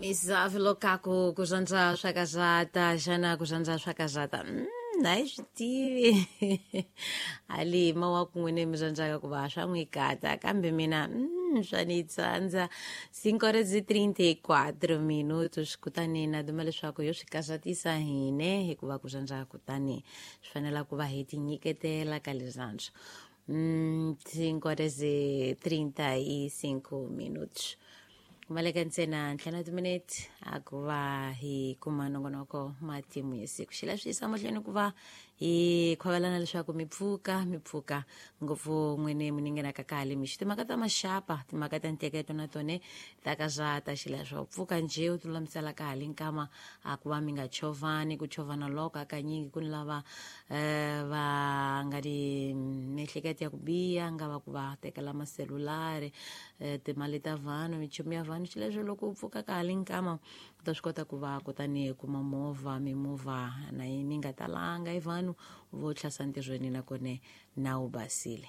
Misava lokaku ku rhandza swa kazata xana ku rhandza swa kazata a yi swi tivi hali mawaku n'wini mi rhandzaka ku va swa n'wi kata kambe mina swa ni tsandza. 5:34 minutos, kutani na duma leswaku yo swi kazatisa hine hikuva ku rhandza kutani swi fanela ku va hi tinyiketela ka leswiantswa. 5:35 minutos, kumaleka ntsena ntlhanu timinete a ku va hi kuma nongonoko matimu ya siku. Xi leswi yisa mahlweni ku va hi khovelana leswaku mi pfuka, mi pfuka ngopfu n'wini mi ningenaka kale mixo. Timhaka ta maxapa, timhaka ta nteketo na tone ta ka zata xileswo pfuka njhe u tilulamisela kahle nkama a ku va mi nga chovani. Ku chovana loko hakanyingi ku ni lava va nga ni miehleketo ya ku biha, nga va ku va tekela maselulari, timali ta vanhu, minchumu ya vanhu. Xileswo loko u pfuka kahle nkama u ta swi kota ku va kutani kuma movha, mimovha na yi mi nga talanga i vanhu vo tlhasa ntirhweni nakone na wu basile.